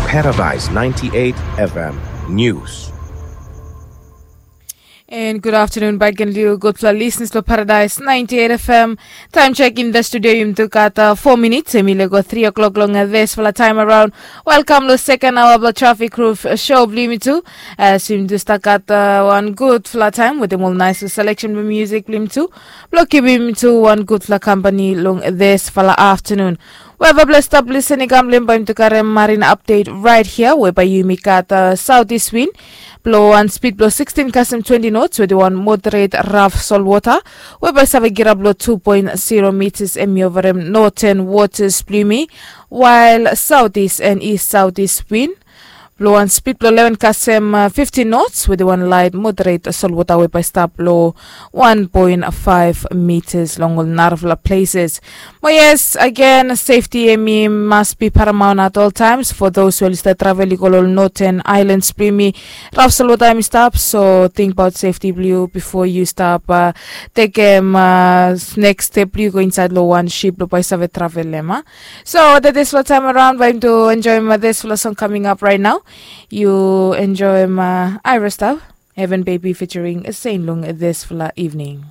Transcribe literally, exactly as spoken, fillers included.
Paradise ninety-eight F M News. And good afternoon back again to you, gudfala listeners lo Paradise ninety-eight F M. Time check in the studio, yumi tu gat uh, four minutes. Emi lego three o'clock long uh, this fala time around. Welcome lo second hour of the traffic roof show blo yumi tu. As yumi tu start gat uh, one good fala time with them all nice selection of music blo yumi tu. Blo keep yumi tu one good fala company long this fala afternoon. Wherever blessed up listening, I'm Limba to carry marine update right here, whereby you make at uh, southeast wind, blow one speed blow sixteen custom twenty knots with one moderate rough salt water, whereby save girab blow two point zero meters and me over them northern waters bloomy, while southeast and east southeast wind, blow one speed blow eleven custom uh, fifty knots with one light moderate salt water, whereby stop blow one point five meters long all narafla places. But yes, again, safety emi must be paramount at all times for those who are still traveling all northern islands bloomy. Rough salt water emi stop, so think about safety blue before you stop uh, take um, uh, next step blue go inside lo one ship lo by save travel lema. So that is what time around by to enjoy my this fala song coming up right now. You enjoy my Ira stuff. Heaven Baby featuring Saint Lung this fala evening.